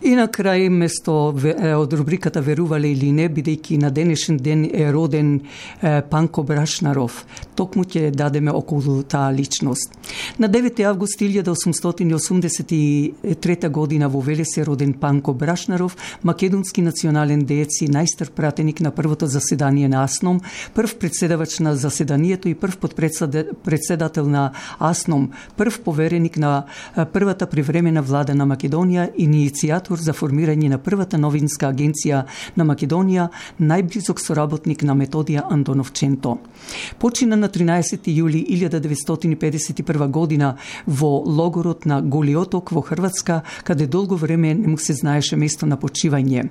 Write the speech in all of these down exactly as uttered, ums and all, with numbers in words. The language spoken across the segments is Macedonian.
И на крај, место од рубриката Верувале или не, бидејќи на денешен ден е роден е, Панко Брашнаров, токму ќе дадеме околу таа личност. На девети август илјада осумстотини осумдесет и трета година во Велес е роден Панко Брашнаров, македонски национален деец и најстар пратеник на првото заседание на АСНОМ, прв председавач на заседанието и прв подпредседател на АСНОМ, прв повереник на првата привремена влада на Македонија, иницијатор за формирање на првата новинска агенција на Македонија, најблизок соработник на Методија Антоновченто. Почина на тринаесети јули илјада деветстотини педесет и прва година во логорот на Голи Оток во Хрватска, каде долго време не му се знаеше место на почивање.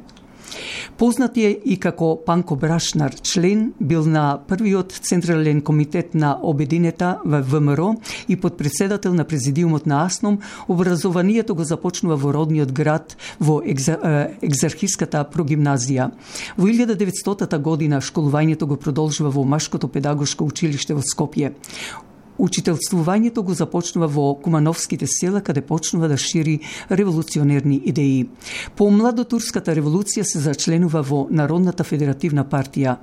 Познат е и како Панко Брашнар, член бил на првиот Централен комитет на Обединета во ВМРО и подпредседател на президиумот на АСНОМ. Образованието го започнува во родниот град во Екзархиската прогимназија. Во илјада деветстотата година школувањето го продолжува во Машкото педагошко училиште во Скопје. Учителствувањето го започнува во Кумановските села, каде почнува да шири револуционерни идеи. По младотурската револуција се зачленува во Народната федеративна партија.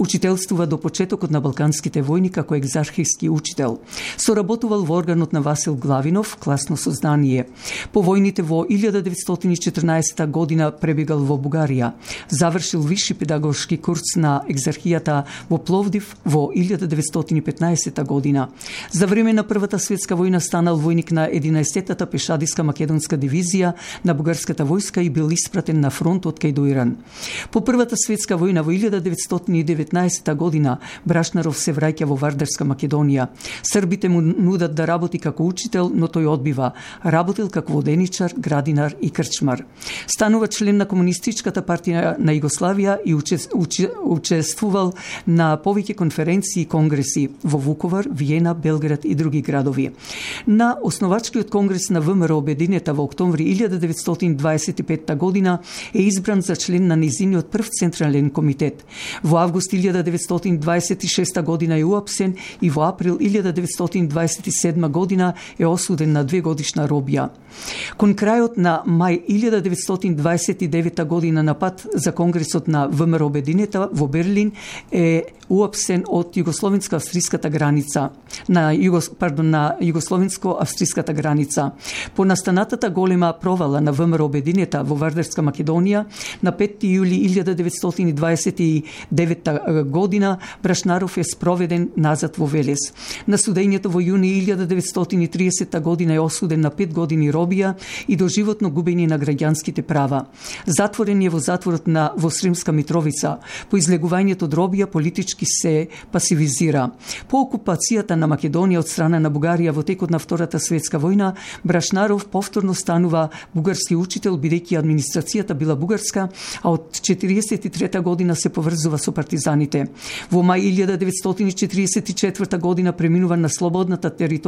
Учителствува до почетокот на Балканските војни како екзархиски учител. Соработувал во органот на Васил Главинов, класно сознание. По војните во илјада деветстотини и четрнаесета година пребегал во Бугарија. Завршил висши педагошки курс на екзархијата во Пловдив во илјада деветстотини и петнаесета година. За време на Првата светска војна станал војник на единаесеттата пешадиска македонска дивизија на бугарската војска и бил испратен на фронтот кај Дујран. По Првата светска војна во илјада деветстотини и деветнаесета година Брашнаров се враќа во Вардарска Македонија. Србите му нудат да работи како учител, но тој одбива. Работил како воденичар, градинар и крчмар. Станува член на Комунистичката партија на Југославија и учествувал на повеќе конференции и конгреси во Вуковар, Виена, Белград и други градови. На основачкиот конгрес на ВМРО Обединета во октомври илјада деветстотини дваесет и петта година е избран за член на низиниот прв Централен комитет. Во август илјада деветстотини дваесет и шеста година е уапсен и во април илјада деветстотини дваесет и седма година е осуден на две годишна робија. Кон крајот на мај илјада деветстотини дваесет и девета година на пат за конгресот на ВМРО Обединета во Берлин е уапсен од југословенско-австриската граница, на југос, пардон, на југословенско-австриската граница. По настанатата голема провала на ВМРО Обединета во Вардарска Македонија на петти јули илјада деветстотини дваесет и девета година Брашнаров е спроведен назад во Велес. На судењето во јуни илјада деветстотини и тридесета година е осуден на пет години робија и доживотно губење на граѓанските права. Затворен е во затворот на во Сремска Митровица. По излегувањето од робија политички се пасивизира. По окупацијата на Македонија од страна на Бугарија во текот на Втората светска војна, Брашнаров повторно станува бугарски учител, бидејќи администрацијата била бугарска, а од четириесет и трета година се поврзува со партизаните. Во мај илјада деветстотини и четириесет и четврта година преминува на слободната територија